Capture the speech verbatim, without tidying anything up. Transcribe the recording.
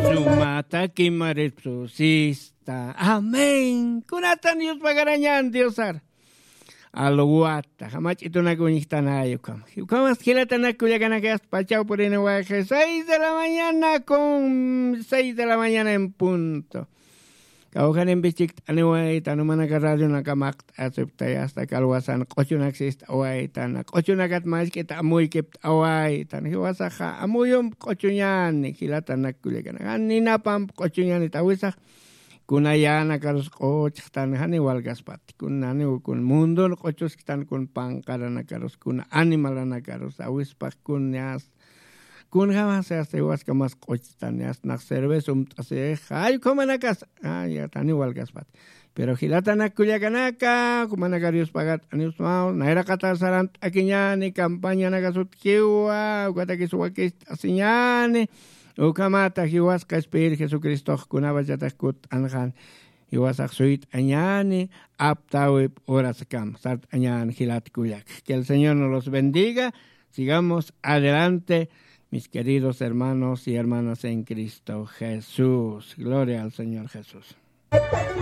Sumata kimaripsusista. Amén. Kunatan Dios pagarañan Diosar. Alwata jamach'itunak uñjtanay ukham. Ukhamas jilatanak kullakanakayasta pachaw purini wayqi seis de la mañana con seis de la mañana en punto. Kawjanimpi chikt'aniwaytan umanaka radionaka maqt'asiptay asta kalwasan q'uchunak sist'awaytan q'uchunakat mask'ita amuykipt'awaytan jiwasaxa amuyump q'uchuñani jilatanak kullakanak jan ninapamp q'uchuñanit awisax. Kuna yänakarus q'uchxtan janiw walkaspati kun janiw kun mundun q'uchusktan kun panqaranakarus kuna animalanakarus awispax kun yasta. Kunjämasa asta jiwaskamas q'uchtan yasta nax cerveza umt'asix jay ukhamanakas. Janiw walkaspati. Pero jilatanak kullakanaka jumanakar yuspagat'aniwsmaw nayraqatar sarant'akiñani campañanakas utjiwa ukatakis wakist'asiñani. Ukhamata jiwasqa espir jesucristox kunapachatix kutt'anxan. Jiwasax suyt'añani aptawip horaskam sart'añan jilat kullak. Que el señor nos los bendiga. Sigamos adelante, mis queridos hermanos y hermanas en cristo jesús. Gloria al señor jesús.